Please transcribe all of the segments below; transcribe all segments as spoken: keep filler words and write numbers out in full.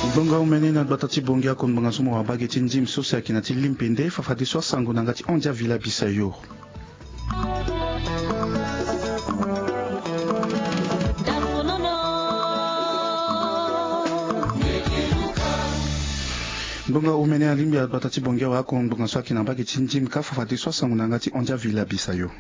Ngbonga omene na gbata ti Bongi ako ngbonga so mo wara bage ti ndim so si ayeke na ti limpe nde fafadeso asango na yanga ti hon dia vila bisayo. Ngbonga omene alingbi agbata ti Bongi awe ako ngbonga so ayeke na bage ti ndim ka fafadeso asango na yanga ti hon dia vila bisayo.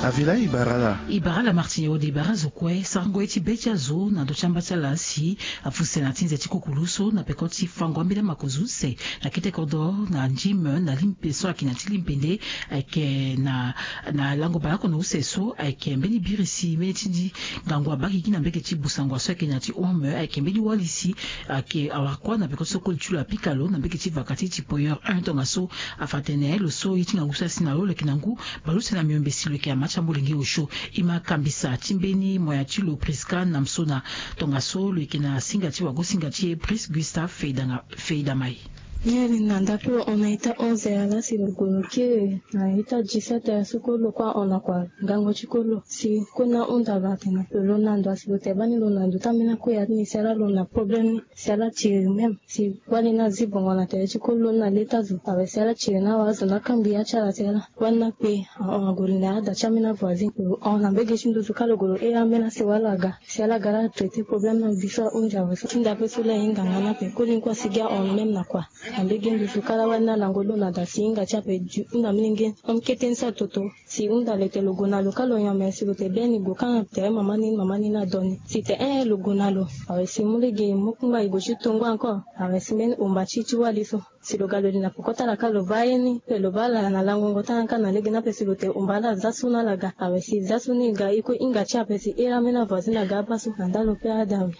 Avila i bara ala. I bara ala Martin Ode, i bara azo kue. Sarango ye ti be ti azo na ndö ti amba ti ala si afuse na ti nze ti kukulu so na peko ti fango ambeni amakozo use na kete kodro na ndim na limpe so ayeke na ti limpe nde ayeke na na lango baleoko na use so ayeke mbeni biri si mbeni ti ngangu abakigi na mbege ti busango so ayeke na ti home ayeke mbeni wali si ayeke awara kuâ na peko ti so koli ti lo apika lo na mbege ti vaka ti ti poyeur un tongaso afa tene lo so ye ti ngangu so asi na lo lo yeke na ngu baleuse na miombe si lo yeke ama ti amolenge osio. E ma kambisa ti mbeni moyen ti lo Prisca Namsona tongaso lo yeke na singa ti wago singa ti e Pris Gustave Feidanga Feidamai. Ni ali na ndapelo hon na ita onze heures ala si lo gue lo kiri na ita dix-sept heures so kue lo kue ahon na kua ngango ti kue lo si kue ni ahunda lo atene lo na ndo asi lo tene bani lo na ndo ti ambeni akue ya ni si ala lo na problème ni si ala tiri même si wali ni azi bongo na tere ti kue lo ni na le ti azo awe si ala tiri ni awe azo ni akangbi ya ti ala si ala wali ni akpe ahon ague lo na ada ti ambeni avoisin lo hon na mbege ti nduzu kâ lo gue lo here ambeni asi wala aga si ala ga la atraité problème ni awe biso ahunzi awe so ti ndape so la ahinga nga ni ape koli ni kue asi gi ahon même na kua na mbege nduzu kâ la wali ni alango lo na da si hinga ti ape du hunda milenge hon kete ni so atoto si hunda lo tene lo gue na lo kâ lo nyon me si lo tene be ni gue kâ na tere mama ni mama ni ni ado ni si tene eh lo gue na lo awe si mu lege mu kungba e gue ti tongo encore awe si mbeni omba ti ti wali so si lo ga lo li na poko ti ala kâ lo baa ye ni pe lo baa ala na langongo ti ala kâ na lege ni ape si lo tene omba ala aza so ni ala ga awe si za so ni e ga e kue hinga ti ape si here ambeni avoisin aga abaa so na nda lo pe ada awe.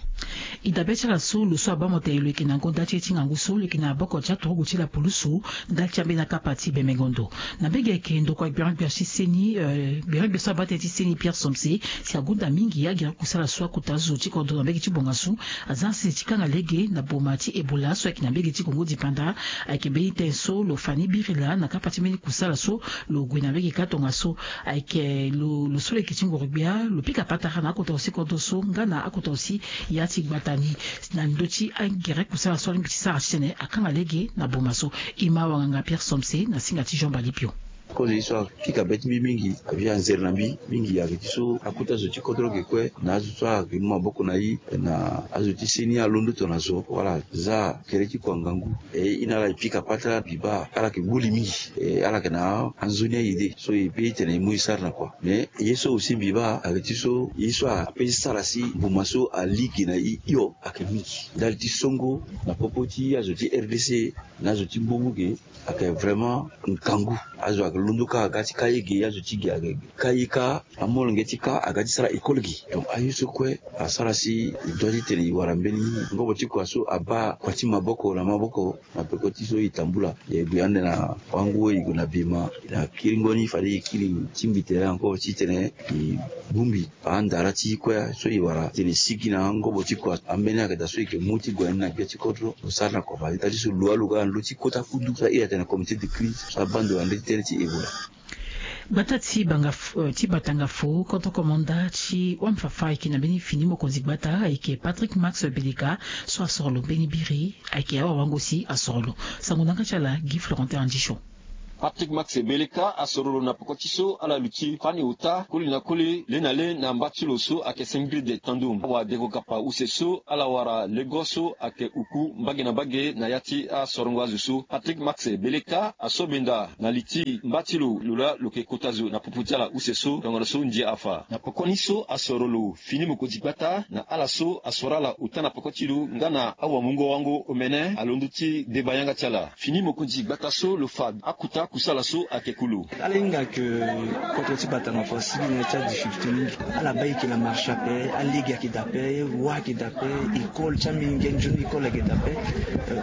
E dabe ti ala so lo so abaa mo tene lo yeke na ngonda ti e ti ngangu so lo yeke na maboko ti aturugu ti lapulusu ndali ti ambeni akapa ti bembengo ndo na mbege ayeke ndokua gbirion gbirion ti seni gbirion gbirion so abaa tënë ti seni Pierre Somse si agunda mingi agere kusala so akota zo ti kodro na mbege ti bongasu aza na sese ti kanga lege na boma ti Ebola so ayeke na mbege ti Kongo dipanda. Ayeke mbeni tënë so lo fa ni biri laa na kapa ti mbeni kusala so lo gue na mbege kâ tongaso ayeke lo so lo yeke ti ngoro-gbia lo pika patara na akota lo si kodro so nga na akota lo si ya ti gbata ni na ndö ti agere kusala so alingbi ti sara titene akanga lege na boma so. E ma wanganga Pierre Somse na singa ti Jean Balipio. Kozo ye so apika be ti mbi mingi abi anzere na mbi mingi ayeke ti so akota zo ti kodro ge kue na azo so ayeke mu maboko na e na azo ti seni alondo tongana zo wala za kere ti kua ngangu e e na ala e pika patara mbi baa ala yeke gbu li mingi e ala yeke na anzoni aye de so e pe e tene e mu e sara na kua mais ye so aussi mbi baa ayeke ti so ye so ape ti sara si mbuma so ali ge na e hio ayeke mingi ndali ti songo na popo ti azo ti rdc na azo ti mbubu ge ayeke vraiment ngangu. Azo ayeke londo kâ aga ti ka ye ge azo ti ge ayeke ka ye kâ amolenge ti ka aga ti sara école ge. Donc aye so kue asara si e doit ti tene e wara mbeni ngobo ti kua so abaa kua ti maboko na maboko na peko ti so e tambula e gue ande na wango e gue na bema na kiringo ni fade e kiri ti mbi tere encore titene e bongbi andara ti kue so e wara tene e sigi na angobo ti kua ambeni ayeke daa so e yeke mu ti gue ni na gbia ti kodro lo sara na kua fade ndali so lo aloga na ndö ti kota kudu so ahiri atene comité de crise so abaa ndo na ndö ti tënë ti ebola. Gbata ti banga ti batanga fo kodro komanda ti wamfafa ayeke na mbeni fini mokonzi gbata ayeke Patrick Max Beleka so asoro lo mbeni biri ayeke awawango si asoro lo. Sango na yanga ti ala Guy Florentin Andicho. Patrick Max Beleka asoro lo na peko ti so ala luti fani ota koli na koli le na le na mba ti lo so ayeke Singrid Tandum awadengo kapa use so ala wara lego so ayeke uku mbage na mbage na ya ti asorongo azo so Patrick Max Beleka aso benda na li ti mba ti lo lo laa lo yeke kota zo na popo ti ala use so tongana so ndia afa na pekoni so asoro lo fini mokonzi gbata na ala so asoro ala ota na peko ti lo nga na awamungo wango omene alondo ti deba yanga ti ala. Fini mokonzi gbata so lo fa akota kusala so ayeke kulu. Ala hinga ke kodro ti batanga fo asigi na ya ti adifficulté mingi. Ala baa e yeke na marché ape, alege ayeke daa ape, wa ayeke daa ape, école ti amenge nzoni école ayeke daa ape,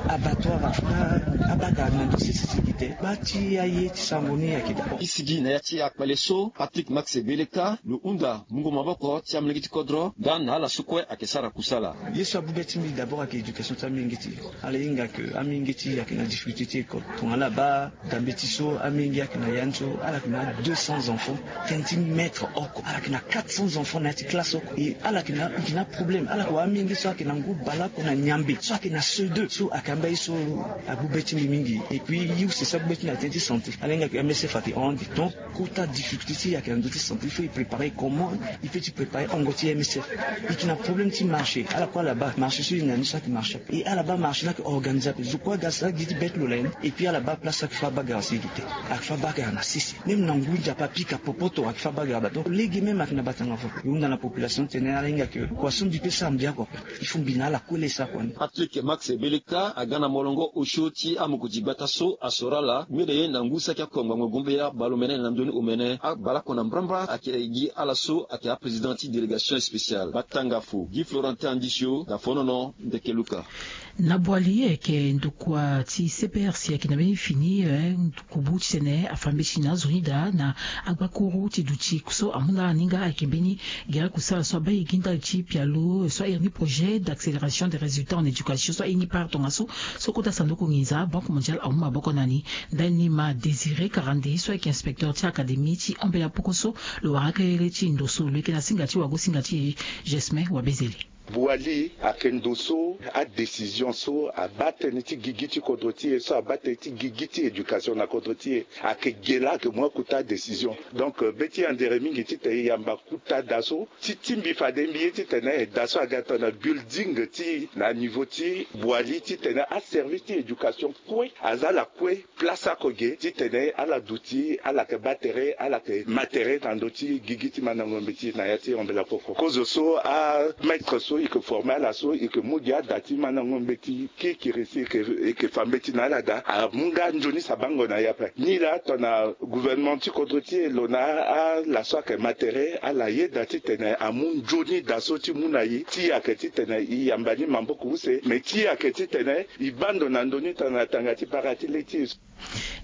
abattoir afra abaa daa na ndo sese sigi te. Baa ti aye ti sango ni ayeke daa ape. E sigi na ya ti akpale so Patrick Max Beleka lo hunda mungo maboko ti amolenge ti kodro nga na ala so kue ayeke sara kusala. Ye so abu be ti mbi d'abord ayeke éducation ti amenge ti e. Ala hinga ke amenge ti e ayeke na difficulté ti école tongana ala baa dambe ti So amenge ayeke na ya ni so ala yeke na deux cents enfants, tënë ti maître oko ala yeke na quatre cents enfants na ya ti classe oko. E ala yeke na, e yeke na problème, ala yeke wa amenge so ayeke na ngu baleoko na nyambe so ayeke na C deux so ayeke amba ye so agbu be ti mbi mingi. Et puis ye use so agbu be ti mbi na tënë ti santé, ala hinga ke M S F ayeke hon ande. Donc kota difficulté ti e ayeke na ndö ti santé, il faut e préparer comment e peut ti préparer hongo ti M S F. E yeke na problème ti marché, ala kue ala baa marché so e na ni so ayeke marché ape. E ala baa marché ni ayeke organisé ape. Zo kue aga sara gi ti bête lo la ye ni. Et puis ala baa place so ayeke fâ bagara si e gi te. Ayeke fâ bagara na sese. Même na ngu ndia ape apika popoto ayeke fâ bagara baa. Donc lege même ayeke na batanga fo. E hunda na population ti tene ala hinga ke kua so mbi peut sara mbi oko ape. Il faut mbi na ala kue le sara kua ni. Patrick Max Beleka aga na molongo osio ti amokoti gbata so asoro ala mire na ngu saki oko ngbangbo gumbia baleomene na ndoni omene. Abaleoko na mbrambra ayeke gi ala so ayeke aprésident ti délégation spéciale. Batanga fo gi Florentin Andisio na fonono ndeke Luka. Na Boali ayeke ndokua ti C P R C ayeke na mbeni fini, eh, kubu titene afa mbeti na azo ni daa na agbakuru ti duti so amu na ala ni nga ayeke mbeni gere kusala so abaa e gi ndali ti pialo so ahiri ni projet d'accélération des résultats en éducation so aye ni part tongaso. So kota sanduku nginza Banque Mondiale amu maboko na ni. Ndali ni ma Désiré Karandé so ayeke inspecteur ti académie ti hombela poko so lo wara akele ti ndo so lo yeke na singa ti wago singa ti e Gesmin Wabezele. Boali ayeke ndo so adécision so abaa tënë ti gigi ti kodro ti e so abaa tënë ti gigi ti éducation na kodro ti e. Ayeke ge laa ayeke mu akota adécision. Donc be ti andere mingi titene e yamba kota da so ti ti mbi fade mbi ye titene da so aga tongana building ti e na niveau ti Boali titene aservice ti éducation kue aza ala kue place oko ge titene ala duti ala yeke baa tere ala yeke ma tere na ndö ti gigi ti mandango mbeti na ya ti hombela poko. Kozo so amaître so e yeke former ala so e yeke mu gi ada ti mandango mbeti kikiri si e yeke fa mbeti na ala daa amu nga nzoni sabango na e ape. Ni laa tongana gouvernement ti kodro ti e lo na ala so ayeke ma tere ala yeda titene amu nzoni da so ti mu na e ti e ayeke titene e yamba ni maboko use me ti e ayeke titene e baa ndo na ndö ni tongana tanga ti bara ti le ti e so.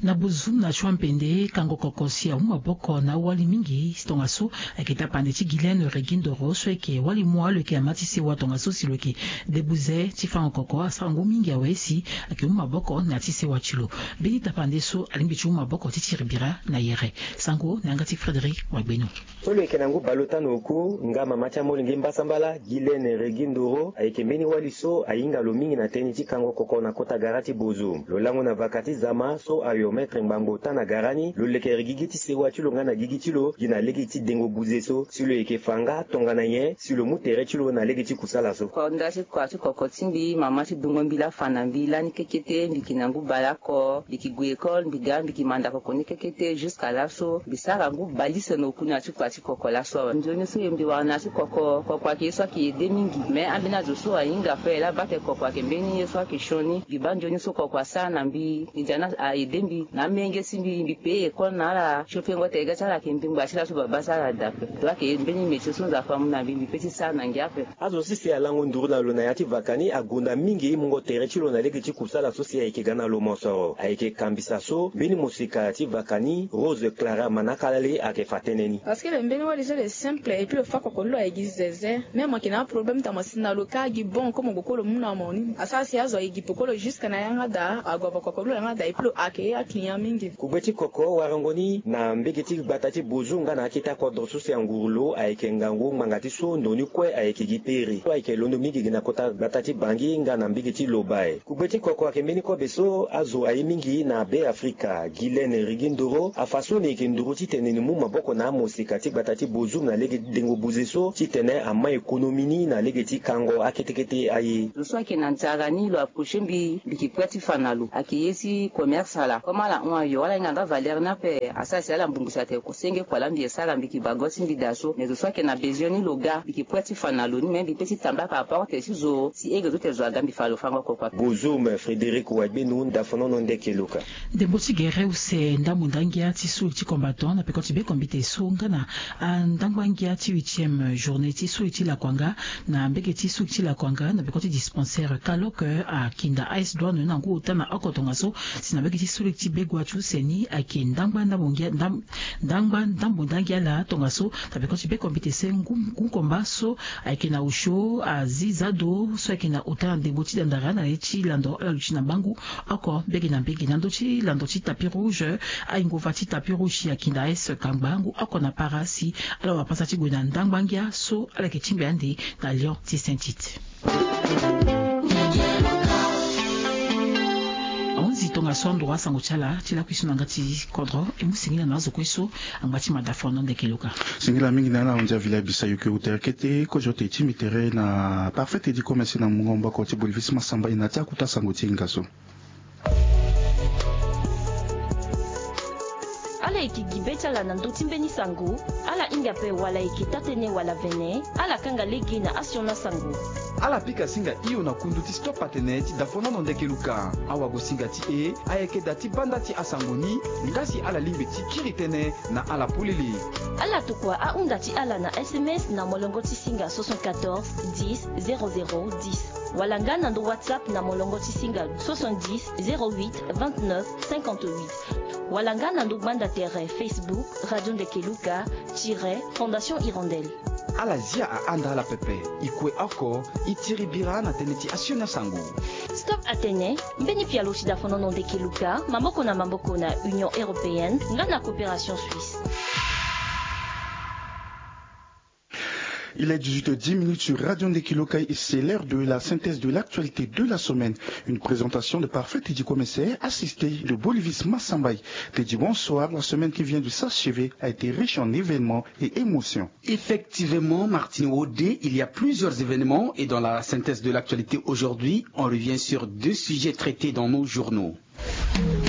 Na Bozoum na Chouampende kango koko si amu maboko na awali mingi tongaso ayeke tapande ti Guylaine Regindoro so ayeke wali mua lo yeke ama ti sewa tongaso si lo yeke debuze ti fango koko asara ngu mingi awe si ayeke mu maboko na ya ti sewa ti lo. Mbeni tapande so alingbi ti mu maboko ti tiri bira na yere. Sango na yanga ti Frédéric Wagbeno. So lo yeke na ngu baleota na oku nga mama ti amolenge mbasambala Guylaine Regindoro ayeke mbeni wali so ahinga lo mingi na tënë ti kango koko na kota gara ti Bozoum. Lo lango na vaka ti zama so ayo maître ngbangbo ota na gara ni lo lekere gigi ti sewa ti lo nga na gigi ti lo gi na lege ti dengo buze so si lo yeke fa nga tongana nyen si lo mu tere ti lo na lege ti kusala so. Konda ti kua ti koko ti mbi mama ti dungo mbi laa fa na mbi lani kekete mbi yeke na ngu baleoko mbi yeke gue école mbi ga mbi yeke manda koko ni kekete jusqu'à laso mbi sara ngu balise na oku na ya ti kua ti koko laso awe. Nzoni so e mbi wara na ya ti koko koko ayeke ye so ayeke ede mingi mais ambeni azo so ahinga ape laa baa tene koko ayeke mbeni ye so ayeke sioni mbi baa nzoni so koko asara na mbi. Mbi dia ni aede mbi na amenge ti mbi mbi payé école na ala. Siofengo tene ga ti ala ayeke mbi ngba ti laso baba ti ala daa ape. Donc ayeke mbeni métier so nzapa amu na mbi mbi pe ti sara na ngia ape. Azo sese alango nduru na lo na ya ti vaka ni agonda mingi mungo tere ti lo na lege ti kusala so si ayeke ga na lo mosoro ayeke kambisa so mbeni mosika ti vaka ni Rose Clara Manakalale ayeke fa tënë ni. Parce que le mbeni wali so le simple et puis lo fa koko ni lo ayeke gi zeze. Même mo yeke na aproblème tongana mo si na lo ka gi bon comme gbo kue lo mu na mo ni asara si azo ayeke gi peko lo jusque na yanga daa agobo koko ni lo yanga daa et puis lo accueillir aclient mingi. Kugbe ti koko warango ni na mbege ti gbata ti Bozoum nga na akete akodro so si anguru lo ayeke ngangu ngbanga ti so ndo ni kue ayeke gi pere so ayeke londo mingi gi na kota gbata ti Bangui nga na mbege ti Lobaye. Kugbe ti koko ayeke mbeni kobe so azo aye mingi na Be Afrika. Guylaine Rigindoro afa so ni yeke nduru titene ni mu maboko na amosika ti gbata ti Bozoum na lege ti dengo buze so titene ama économie ni na lege ti kango akete kete aye. Zo so ayeke na nzara ni lo approcher mbi mbi yeke prêt ti fa na lo ayeke ye ti commerce ala comme ala hon ayo ala hinga nga valeur ni ape asara si ala mbongbi si atene senge kua laa mbi yeke sara mbi yeke bago ti mbi daa so mais zo so ayeke na besoin ni lo ga mbi yeke prêt ti fa na lo ni me mbi pe ti tambaka aporte ti zo si ege zo tene zo aga mbi fa lo fango koko ape. Bozoum Frédéric Wagbenu ndafonono ndeke lo ka. Ndembo ti gere use ndambo ndangia ti suli ti combattant na peko ti be kombite so nga na andangba ngia ti huitième journée ti suli ti lakuanga na mbege ti suli ti lakuanga na peko ti dispensaire Kalok akinda ice douane na ngu ota na oko tongaso si na mbege Ti suli ti begua ti use ni ayeke ndangba ndambo ngia ndangba ndambo ndangi ala tongaso na peko ti beko mbete se ngu nkomba so ayeke na osio azi zado so ayeke na ota na ndembo ti dandara na ye ti lando ala luti na mbangu. Oko mbege na mbege na ndö ti lando ti tapis rouge, aingova ti tapis rouge ayeke na ese kangba ngu oko na para si ala wara pasa ti gue na ndangba ngia so ala yeke tingbi ande na lion ti saint tite. Ahunzi tongaso andro asango ti ala ti lakui so na nga ti kodro e mu singila na azo kue so angba ti mada fondo ndeke luka. Singila mingi na ala ahunzi avila bisa yuke utere kete kozo te ti mitere na parfait te di komese na mungo mboko ti bolivisi masamba ina ti akuta sango ti hinga so. Ala yeke gi be ti ala na ndö ti mbeni sango. Ala hinga ape wala ayeke taa-tënë wala vene. Ala kanga lege na asioni asango. Ala pika singa hio na kundu ti stop atene ti dafonono ndeke luka. Awagosinga ti e ayeke da ti banda ti asango ni. Nga si ala lingbi ti kiri tënë na ala polele. Ala tokua ahunda ti ala na sms na molongo ti singa soixante-quatorze dix zéro zéro dix. Wala nga na ndo whatsapp na molongo ti singa soixante-dix zéro huit vingt-neuf cinquante-huit. Wala nga na ndo gbanda tere facebook radio ndeke luka tire fondation hirondelle. Ala zia ahanda ala pepe. E kue oko e tiri bira na tënë ti asioni asango. Stop atene mbeni pialo ti dafonono ndeke luka maboko na maboko na union européenne nga na coopération suisse. Il est dix-huit heures dix minutes sur Radio Ndeki Lokai et c'est l'heure de la synthèse de l'actualité de la semaine. Une présentation de Parfait Teddy Commissaire, assisté de Bolivis Massambaye. Teddy, bonsoir. La semaine qui vient de s'achever a été riche en événements et émotions. Effectivement, Martine Wodé, il y a plusieurs événements et dans la synthèse de l'actualité aujourd'hui, on revient sur deux sujets traités dans nos journaux.